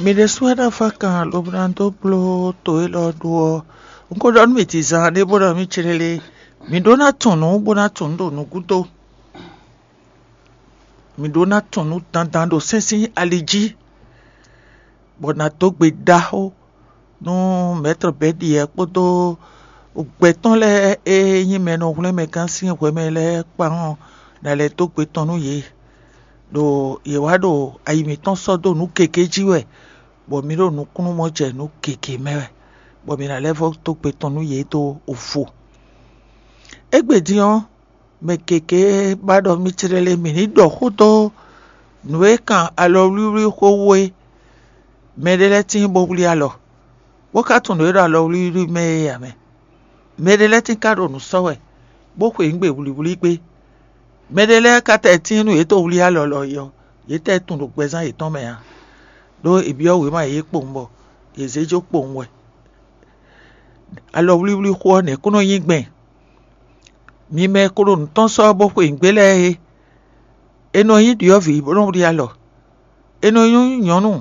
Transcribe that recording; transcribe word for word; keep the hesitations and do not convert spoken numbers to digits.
Mi ɖésú wɛ ná fá kan lobo ná dó bló to élɔ́ ɖó ɔ́. Un ko ɖɔ nú mì dizan ɖé bó ɖɔ mì céɖélé, mǐ ɖó ná tunwun nǔ bó ná tunwun nǔ ɖo nǔgúdo. Mǐ ɖó ná tunwun nǔ dandan ɖo sɛ́n sín ali jí, bɔ ná dó gbe ɖaxó nú mɛ̌tɔ́ bɛ́ ɖiɛ kpódó gbɛtɔ́ lɛ́ɛ e nyí mɛ e nɔ hwlɛ́n mɛ gán sín hwɛ mɛ lɛ́ɛ kpán ɔ́, ná lɛ́ dó gbe tɔn nú yě. Ɖo yě wá ɖo ayi mǐtɔn sɔ́ dó nǔ gěgé jí wɛ, bɔ mǐ ɖo nukúnnú mɔ jɛ nǔ gěgé mɛ wɛ, bɔ mǐ ná lɛ́ vɔ́ dó gbe tɔn nú yě dó vo. Égbé din ɔ́, mɛ gěgé ba ɖɔ mì céɖélé mǐ ní ɖɔ xó dó nǔ e kan alɔwlíwlí xó wú é. Mɛɖé lɛ́ɛ tíin bó wlí alɔ, bó ka tunwun nǔ e ɖo alɔwlíwlí mɛ é ǎ mɛ. Mɛɖé lɛ́ɛ tíin ka ɖo nǔ sɔ́ wɛ, bó xweyǐgbe wlǐwlí gbé. Mɛɖé lɛ́ɛ ka tɛ tíin nú yě tó wlí alɔ lɔ é ɔ́, yě tɛ tunwun ɖo gbɛzán yětɔn mɛ ǎ, ɖó è byɔ́ wěma yě kpowun bɔ yě zé jó kpowun wɛ. Alɔwlíwlí xó ɔ́, nɛ̌ kó nɔ nyí gbɛn? Mi mɛ e ko ɖo nǔ tɔn sɔ́ bó xweyǐgbe lɛ́ɛ é, è nɔ nyí ɖyɔ̌vǐ bó nɔ wlí alɔ; è nɔ nyí nyɔ̌nu